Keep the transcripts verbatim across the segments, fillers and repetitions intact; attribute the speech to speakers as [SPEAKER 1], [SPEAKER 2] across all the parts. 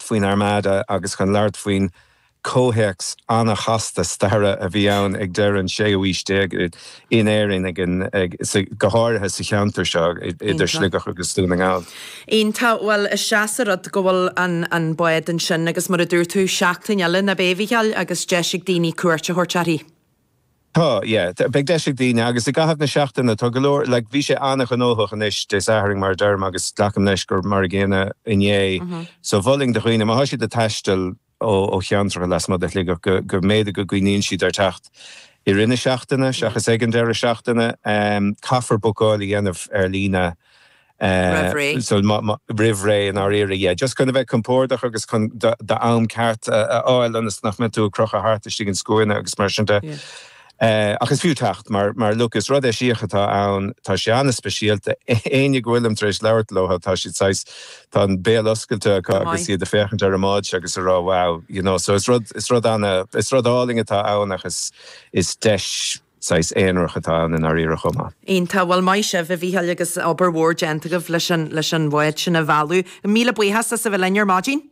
[SPEAKER 1] faoin Armada agus chun labhairt faoin comhthéacs an-chasta staire a bhí ann ag deireadh an séú haois déag in Éirinn ag an ag go háirithe sa cheantar seo idir Sligeach agus Dún na nGall.
[SPEAKER 2] Iontach bhuel is deas an rud go bhfuil an an bád ansin agus mar a dúirt tú seachtain eile nach ea a Mhícheáil agus deis ag daoine cuairt a thabhairt uirthi.
[SPEAKER 1] Tá yeah, beidh deis ag daoine agus i gcaitheamh na seachtaine tá go leor like, bhí sé an-ghnóthach anois Dé Sathairn mar deirim agus glacaim leis gur mar an gcéanna inné. Mm -hmm. So mholfainn do dhaoine má tá siad ag taisteal ó cheantracha lasmuigh de Shligeach go go mb'fhéidir go gcuimhníonn siad ar teacht i rith na seachtaine seachas ag an deireadh seachtaine um, caithfear bookáil a dhéanamh ar líne
[SPEAKER 2] uh,
[SPEAKER 1] so roimh ré in áirithe yeah. just chun a bheith compordach agus chun am ceart a fháil ionas nach mbeidh tú ag crochadh thart istigh in scuaine agus mar sin de. Yeah. Uh, ach is fiú teacht mar mar look is rud eisíoch atá ann tá sé an-speisialta éinne go bhfuilim tar éis labhairt leo tá siad sais tá an béal oscailte acu agus iad ag féachaint ar an mbád agus ag rá wow you know so is rud is rud an is rud álainn atá ann agus is deis sais aonarach atá ann in áirithe chomh maith.
[SPEAKER 2] Iontach bhuel maith sibh a Mhícheáil agus obair mhór déanta agaibh leis an leis an bhád sin a mhealladh. Míle buíochas as a bheith linn ar maidin?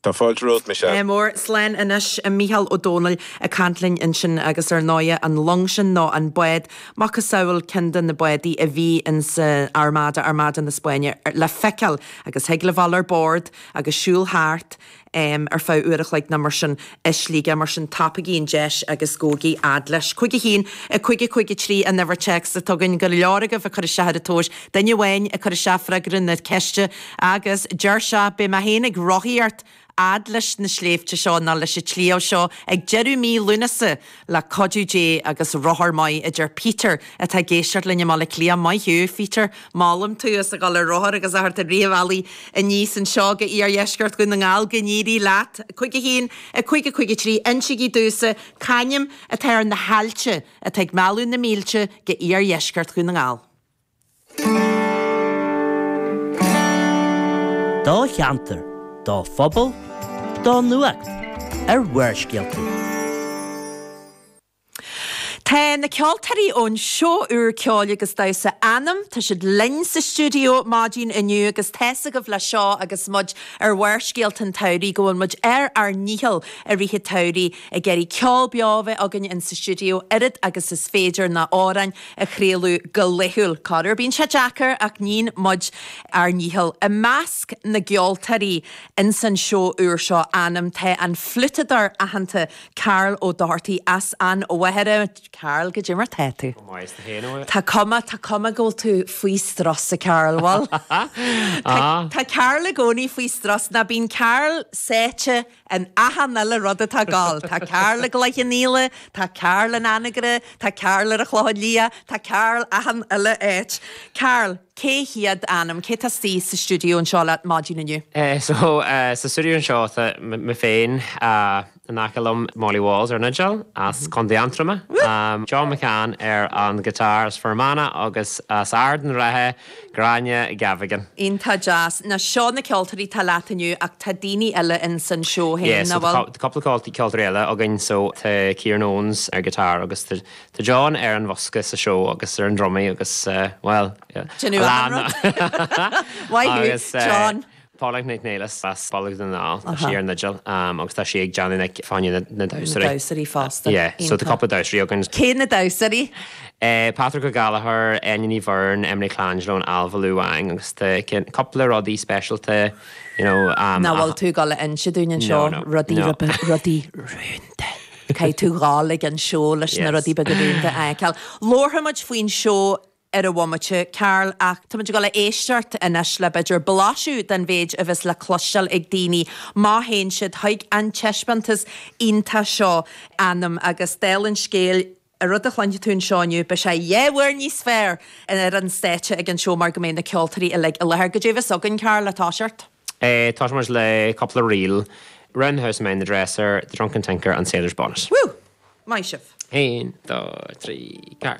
[SPEAKER 1] Tá fáilte romhat Michelle.
[SPEAKER 2] Mór slán anois Mícheál Ó Dónaill ag caint linn ansin agus ar ndóigh an long sin nó an bád macasamhail ceann de na bádaí a bhí in sa Armada Armada na Spáinne le feiceáil agus thig le bheith ar bord agus siúl thart um, ar feadh uair a chloig nó mar sin i Sligeach mar sin tapaígí an deis agus gabhaigí fhad leis. Cúig a haon a cúig a cúig a trí an uimhir téacs atá againn go leor agaibh ag cur isteach ar an tomhas duine amháin ag cur isteach freagra na ceiste agus deir sé beidh mé féin ag rothaíocht fhad leis na sléibhte seo ná leis an tsliabh seo ag deireadh mí Lúnasa le cuidiú Dé agus rothar maith a deir Peter atá ag éisteacht linn i mBaile Átha Cliath maith thú Peter molaim tú as a dhul ar rothar agus a theacht ar riomh aníos anseo go iardheisceart Dhún na nGall go n-éirí leat cúig a haon a cúig a cúig a trí insígí domhsa c'ainm atá ar na haillte atá ag mealladh na mílte go iardheisceart Dhún na nGall.
[SPEAKER 3] Do cheantar, do phobal, do nuacht ar Bharrscéalta.
[SPEAKER 2] Tá na ceoltóirí ón seó úr ceoil agus damhsa Anam, Tá siad linn sa stiúideo maidin inniu agus tá's agaibh le seo agus muid ar Bharrscéalta an tsamhraidh go bhfuil muid ar ár ndícheall i rith an tsamhraidh ag iarraidh ceol beo a bheith againn in sa stiúideo oiread agus is féidir na hamhráin a chraoladh go laethúil. Corruair bíonn sé deacair ach níonn muid ár ndícheall. I measc na gceoltóirí in san seó úr seo Anam tá an fliútadóir aitheanta Karl Ó Dochartaigh as an Mhachaire. Karl goidé mar tá tú. Tá cuma tá cuma go bhfuil tú faoi strus a Karl bhfuil. Tá Karl i gcónaí faoi strus ná bíonn Karl sáite in achan uile rud atá ag gabháil. Tá Karl i gCloich Cheann Fhaola, tá Karl in Anagaire, tá Karl ar an Chlochán Liath, tá Karl achan uile áit. Karl, cé hiad Anam, cé tá istigh sa stiúideo anseo leat maidin inniu?
[SPEAKER 4] Uh, so uh, sa stiúideo anseo tá mé féin uh, in aice liom Molly Walls ar an fhidil as Contae Aontroma. Um, John McCann ar an guitar as Fear Manach agus as Ard an Rátha Gráinne Gavigan.
[SPEAKER 2] Iontach deas na seo na ceoltóirí tá leat inniu ach tá daoine eile in san seó
[SPEAKER 4] Yeah,
[SPEAKER 2] féin
[SPEAKER 4] so
[SPEAKER 2] nach bhfuil?
[SPEAKER 4] tá cúpla ceoltóirí eile againn so tá Kieran Owens ar guitar agus tá tá John ar an bhosca sa seó agus ar an drumaí agus uh, well yeah.
[SPEAKER 2] Déanamh
[SPEAKER 4] Lán-
[SPEAKER 2] Maith thú,
[SPEAKER 4] Agus, uh,
[SPEAKER 2] John.
[SPEAKER 4] Paula Nic Néilis as Baile na nGall tá sí ar an fhidil um, agus tá sí ag déanamh fá choinne na, na damhsóirí.
[SPEAKER 2] Damhsóirí fosta.
[SPEAKER 4] Yeah, so tá
[SPEAKER 2] Iontach.
[SPEAKER 4] cúpla damhsóirí againn.
[SPEAKER 2] Cé na damhsóirí?
[SPEAKER 4] Uh, Patrick Ó Gallchóir, Enya Ní Bhyrne, Emily Colangelo, Alva Lu Wang agus tá cúpla rudaí speisialta you know, um,
[SPEAKER 2] Nach bhfuil tú ag gabháil a inse dúinn anseo
[SPEAKER 4] No, no,
[SPEAKER 2] rudaí
[SPEAKER 4] no.
[SPEAKER 2] rudaí rúnda. Caithfidh tú ghabháil ag an seó leis na
[SPEAKER 4] Yes.
[SPEAKER 2] rudaí beaga rúnda a fheiceáil. Labharfaidh muid faoin seó ar an bhomaite Karl ach tá muid ag gabháil a éisteacht anois le b'fhéidir blaiseadh den mhéid a bheas le cloisteáil ag daoine má théann siad chuig an taispeántas iontach seo Anam agus dála an scéil a rud a chluinfidh tú anseo inniu beidh sé dhá uair níos fearr ar an stáitse ag an seó mar go mbeidh na ceoltóirí uilig i láthair. Goidé a bheas againn Karl le toiseacht.
[SPEAKER 4] Eh, tá muid le cúpla ríl, Round the House Mind the Dresser, The Drunken Tinker and Sailor's Bonnet.
[SPEAKER 2] Woo! Maith sibh.
[SPEAKER 4] Haon, dó, trí, ceathair.